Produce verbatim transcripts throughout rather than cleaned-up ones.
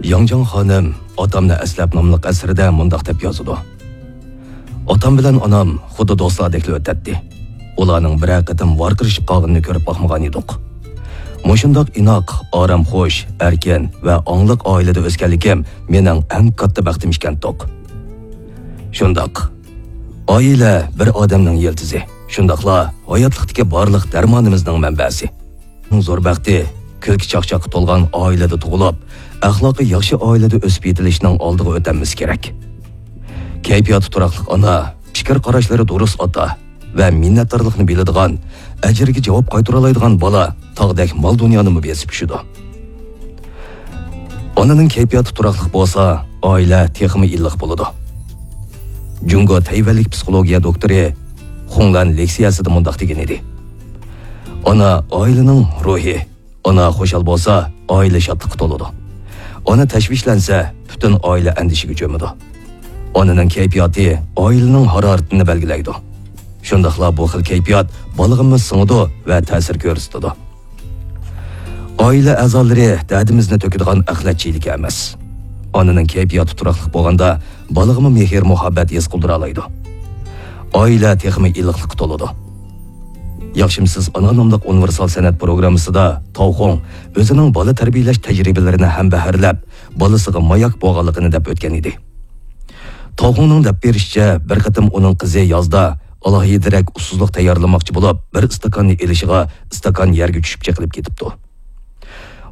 ياڭجاڭ خانىم ئاتامنى ئەسلەپ ناملىق ئەسىرىدە مۇنداق دەپ يازىدۇ: ئاتام بىلەن ئانام خۇددى دوستلاردەكلا ئۆتەتتى. ئۇلارنىڭ بىرەر قېتىم ۋارقىرىشىپ قالغىنىنى كۆرۈپ باقمىغان ئىدۇق. مۇشۇنداق ئىناق، ئارامخۇش، ئەركىن ۋە ئاڭلىق ئائىلىدە ئۆسكەنلىكىم مېنىڭ ئەڭ كاتتا بەختىم ئىكەنتۇق. شۇنداق. ئائىلە بىر ئادەمنىڭ يىلتىزى، شۇنداقلا ھاياتلىقتىكى بارلىق دەرمانىمىزنىڭ مەنبەسى. زور بەختى، كۈلكە چاقچاققا تولغان ئائىلىدە تۇغۇلۇپ، ئەخلاقى ياخشى ئائىلىدە ئۆسۈپ يېتىلىشنىڭ ئالدىغا ئۆتەلمىسى كېرەك. كەيپىياتى تۇراقلىق ئانا، پىكىر قاراشلىرى دۇرۇس ئاتا ۋە مىننەتدارلىقنى بىلىدىغان، ئەجرىگە جاۋاب قايتۇرالايدىغان بالا تاغدەك مال دۇنيانىمۇ بېسىپ چۈشىدۇ. ئانىنىڭ كەيپىياتى تۇراقلىق بولسا، ئائىلە تېخىمۇ ئىللىق بولىدۇ. جۇڭگو تەيۋەنلىك پسىخولوگىيە دوكتورى خۇڭلەن لېكسىيەسىدە مۇنداق دېگەن ئىدى: ئانا ئائىلىنىڭ روھى. ئانا خۇشال بولسا، ئائىلە شادلىققا تولىدۇ. ئانا تەشۋىشلەنسە، پۈتۈن ئائىلە ئەندىشىگە چۆمىدۇ. ئانىنىڭ كەيپىياتى ئائىلىنىڭ ھارارىتىنى بەلگىلەيدۇ. شۇنداقلا بۇ خىل كەيپىيات بالىغىمۇ سىڭىدۇ ۋە تەسىر كۆرسىتىدۇ. ئائىلە ئەزالىرى دەردىمىزنى تۆكىدىغان ئەخلەت چېلىكى ئەمەس. ئانىنىڭ كەيپىياتى تۇراقلىق بولغاندا، بالىغىمۇ مېھىر-مۇھەببەت ھېس قىلدۇرالايدۇ. ئائىلە تېخىمۇ ئىللىقلىققا تولىدۇ. ياخشىمۇسىز ئانا ناملىق ئۇنىۋېرسال سەنئەت پروگراممىسىدا تاۋخۇڭ ئۆزىنىڭ بالا تەربىيەلەش تەجرىبىلىرىنى ھەمبەھىرلەپ، بالىسىغا ماياك بولغانلىقىنى دەپ ئۆتكەن ئىدى. تاۋخۇڭنىڭ دەپ بېرىشىچە، بىر قېتىم ئۇنىڭ قىزى يازدا ئالاھىدىرەك ئۇسسۇزلۇق تەييارلىماقچى بولۇپ، بىر ئىستاكاننى ئېلىشىغا ئىستاكان يەرگە چۈشۈپ چېقىلىپ كېتىپتۇ.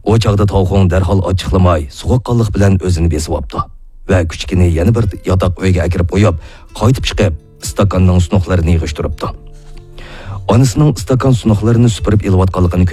ئۇ چاغدا تاۋخۇڭ دەرھال ئاچچىقلىماي، سوغۇققانلىق بىلەن ئۆزىنى بېسىۋاپتۇ ۋە كۈچۈكىنى يەنە بىر ياتاق ئۆيگە ئەكىرىپ قويۇپ، قايتىپ چىقىپ، ئىستاكاننىڭ سۇنۇقلىرىنى يىغىشتۇرۇپتۇ. ئانىسىنىڭ ئىستاكان سۇنۇقلىرىنى سۈپۈرۈپ ئېلىۋاتقانلىقىنى